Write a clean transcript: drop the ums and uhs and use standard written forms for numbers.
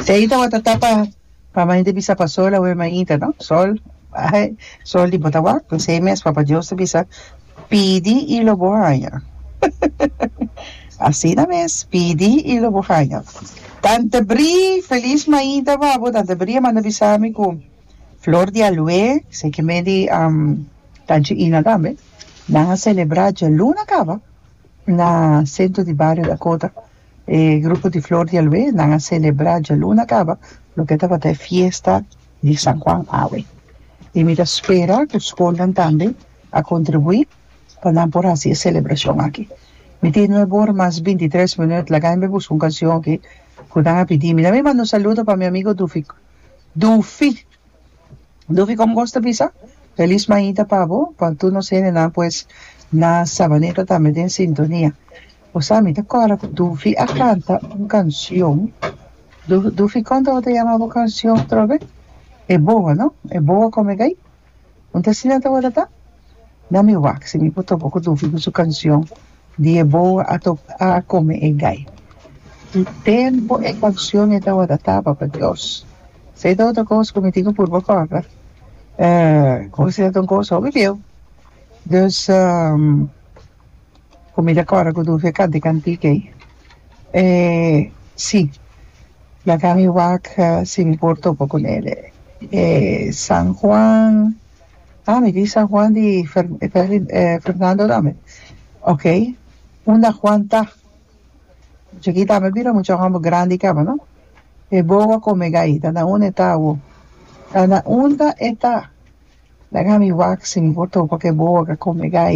Esei tabata ta pa pa mainta bisa pa sol awe mainta no sol ai sol di bo ta wak esei mes papa Dios ta bisa pidi y lo bo haña asina mes pidi y lo bo haña Tante Bri feliz mainta pa bo Tante Bri a manda bisa mi cu Flor di Aloe esei ke me di Tanchi Ina tambe nan a celebra djaluna caba na centro di bario Dakota. E grupo di Flor di Aloe nan a celebra djaluna caba loke tabata e fiesta di San Juan awe. Y mi ta spera cu scolnan tambe a contribui pa nan por haci e celebracion aki. Mi tin nuebe ora mas bintitres minuut, laga mi busca un cancion aki cu nan a pidi mi. Nan mi manda un saludo pa mi amigo Dufi Dufi. Dufi como cos ta bisa? Feliz mainta pa bo, pa tur nos hendenan pues na Sabaneta tambe den sintonia. Bo sa mi ta kòrda ku Dufi a kanta un kanshon, Dufi kon tabata yama bo kanshon atrobe? E boa no? E boa kome gai? Un ta asina tabata ta? Na mi wak si mi por topa ku Dufi ku su kanshon di e boa a a kome e gai. Ki tempu e kanshon e tabata ta papa Dios. Esei ta otro kos ku mi tin ku purba kòrda. Kos ta un kos hopi bieu. Dus. Ku mi ta kòrda ku Dufi a kanta e kantika ei. E si, laga mi wak si mi por topa ku nel. E San Juan, ah mi di San Juan di Fernando tambe. Ok, unda Juan ta? Mucha aki tambe bira mucha hòmber grandi kaba no. E boa kome gai, ta na unda e ta awo? Ta na unda e ta? Laga mi wak si mi por topa ku e boa ku a kome gai.